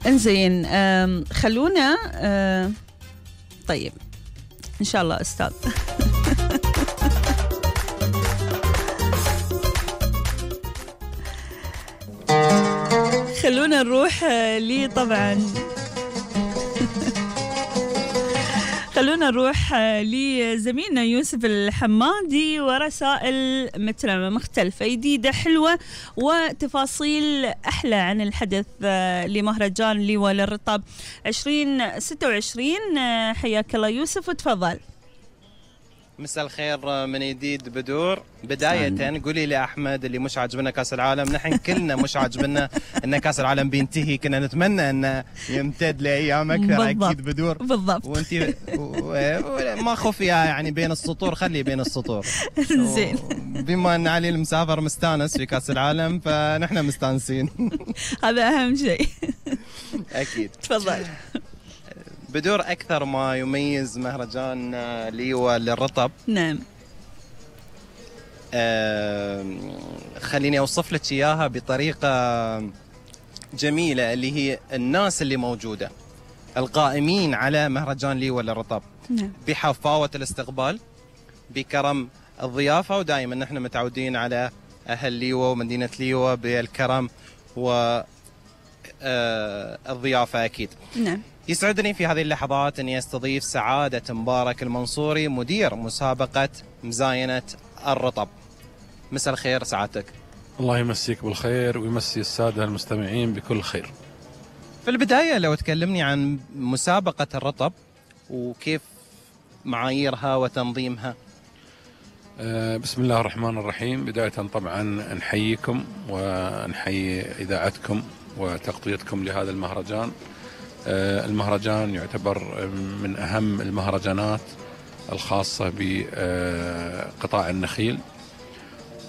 انزين، خلونا طيب إن شاء الله أستاذ. خلونا نروح لي طبعا خلونا نروح لزميلنا يوسف الحمادي ورسائل مترمة مختلفة جديدة حلوة وتفاصيل أحلى عن الحدث لمهرجان ليوة للرطب 2026. حياك الله يوسف وتفضل. مساء الخير من جديد بدور. بداية قولي لي أحمد اللي مش عاجبنا كأس العالم، نحن كلنا مش عاجبنا أن كأس العالم بينتهي، كنا نتمنى أنه يمتد لأيام أكثر. أكيد بدور بالضبط. وأنت ما خفيها يعني بين السطور، خلي بين السطور. زين. بما أن علي المسافر مستانس في كأس العالم فنحن مستانسين. هذا أهم شيء. أكيد. تفضل بدور. أكثر ما يميز مهرجان ليوة للرطب، نعم، خليني أوصف لك إياها بطريقة جميلة، اللي هي الناس اللي موجودة القائمين على مهرجان ليوة للرطب، نعم، بحفاوة الاستقبال، بكرم الضيافة. ودائما نحن متعودين على أهل ليوة ومدينة ليوة بالكرم والضيافة أكيد. نعم. يسعدني في هذه اللحظات أني أستضيف سعادة مبارك المنصوري، مدير مسابقة مزاينة الرطب. مساء الخير سعادتك. الله يمسيك بالخير ويمسي السادة المستمعين بكل خير. في البداية لو تكلمني عن مسابقة الرطب وكيف معاييرها وتنظيمها. بسم الله الرحمن الرحيم. بداية طبعا نحييكم ونحيي إذاعتكم وتغطيتكم لهذا المهرجان. المهرجان يعتبر من أهم المهرجانات الخاصة بقطاع النخيل،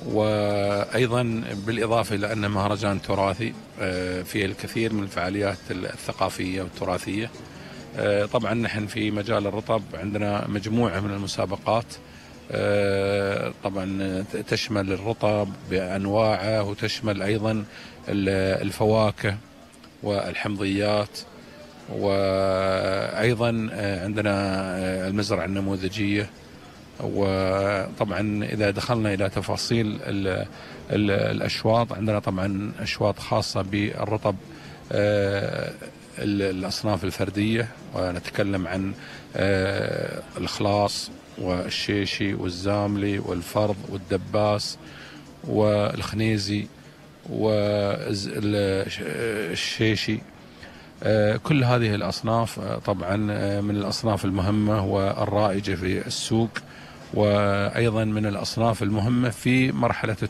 وأيضا بالإضافة إلى أنه مهرجان تراثي فيه الكثير من الفعاليات الثقافية والتراثية. طبعا نحن في مجال الرطب عندنا مجموعة من المسابقات، طبعا تشمل الرطب بأنواعه وتشمل أيضا الفواكه والحمضيات، وأيضا عندنا المزرعة النموذجية. وطبعا إذا دخلنا إلى تفاصيل الأشواط، عندنا طبعا أشواط خاصة بالرطب الأصناف الفردية، ونتكلم عن الخلاص والشيشي والزاملي والفرض والدباس والخنيزي والشيشي. كل هذه الأصناف طبعا من الأصناف المهمة والرائجة في السوق، وأيضا من الأصناف المهمة في مرحلة